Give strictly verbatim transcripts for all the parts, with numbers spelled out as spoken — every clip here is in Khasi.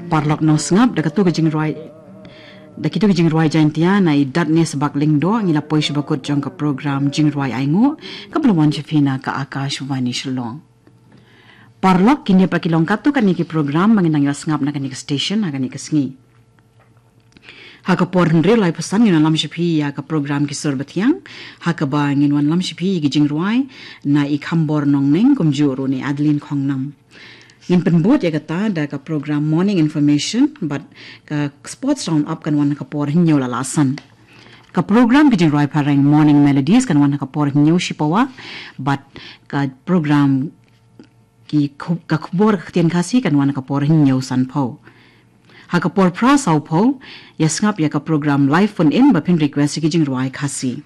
Paralok nongsngap, da katu ka jingrwai, da kitu ka jingrwai Jaintia na i Datne Sabak Lyngdoh ngi la poi sha bakut jong ka program Jingrwai Ainguh, kaba la wan sha phi na ka Akashvani Shillong. Paralok, kine pat ki long katto katne ki program ba ngin nang ïa sngap na kane ka station ha kane ka sngi. Ha ka por hynriew laiphew san ngin wanlam sha phi ïa ka program Ki Sur Bathiang, ha kaba ngin wanlam sha phi ïa ki jingrwai na i Khambor Nongneng kumjuh ruh na i Adeline Khongnam. Ngin pynbud ïa kata da ka program Morning Information bad ka Sports Round Up kan wan ha ka por hynñiew la la san. Ka program Ki Jingrwai Phareng Morning Melodies kan wan ha ka por hynñiew shipawa bad ka program ki khu-, ka khubor ka ktien Khasi kan wan ha ka por hynñiew sanphew. Ha ka por phra sawphew, ïa sngap ïa ka program Live Phone In ba phin request ïa ki jingrwai Khasi.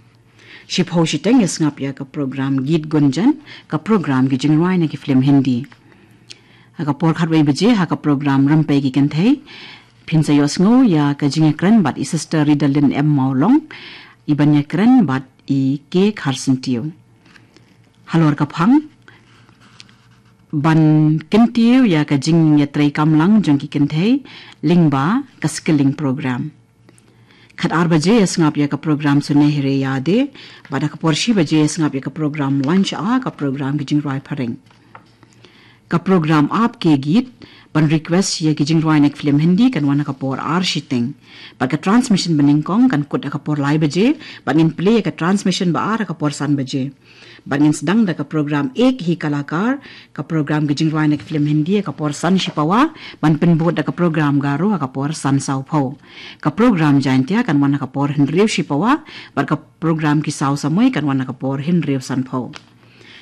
Shiphew shiteng ïa sngap ïa ka program Geet Gunjan, ka program ki jingrwai na ki film Hindi. Ha ka por khatwei baje ha ka program Rympei ki Kynthei, phin sa ïohsngew ïa ka jingïakren bad i Sister Ridalin M Mawlong, i ban ïakren bad i K Kharsyntiew. Halor ka phang, ban kyntiew ïa ka jingïatreikamlang jong ki kynthei lyngba ka skilling program. Khatar baje ïa sngap ïa ka program Sunehere Yadein, bad ha ka por shi baje ïa sngap ïa ka program Lunch Hour, ka program ki jingrwai phareng. Ka program Aap Ke Geet, ban request ïa ki jingrwai na ki film Hindi kan wan ha ka por ar shiteng. Bad ka transmission banyngkong kan kut ha ka por lai baje, bad ngin play ïa ka transmission ba ar ha ka por san baje. Bad ngin sdang da ka program Ek Hi Kalakar, ka program ki jingrwai na ki film Hindi ha ka por san shipawa, ban pynbud da ka program Garo ha ka por san sawphew. Ka program Jaintia kan wan ha ka por hynriew shipawa, bad ka program Ki Saw Samoi kan wan ha ka por hynriew sanphew.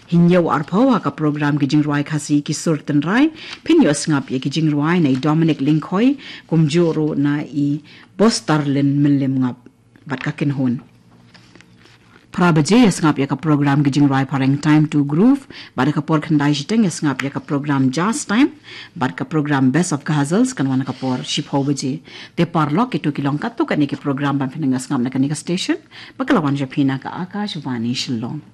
Hynñiew arphew ha ka program ki jingrwai Khasi Ki Sur Tynrai, phin ïoh sngap ïa ki jingrwai na i Dominic Lyngkhoi, kumjuh ruh na i Bostarlin Mylliem Ngap bad ka kynhun. Phra baje ïa sngap ïa ka program ki jingrwai phareng Time to Groove, bad ha ka por khyndai shiteng ïa sngap ïa ka program Jazz Time, bad ka program Best of Ghazals kan wan ha ka por shiphew baje. Te paralok, kito ki long katto katne ki program ban phin nang ïa sngap na kane ka station, ba ka la wan sha phi na ka Akashvani Shillong.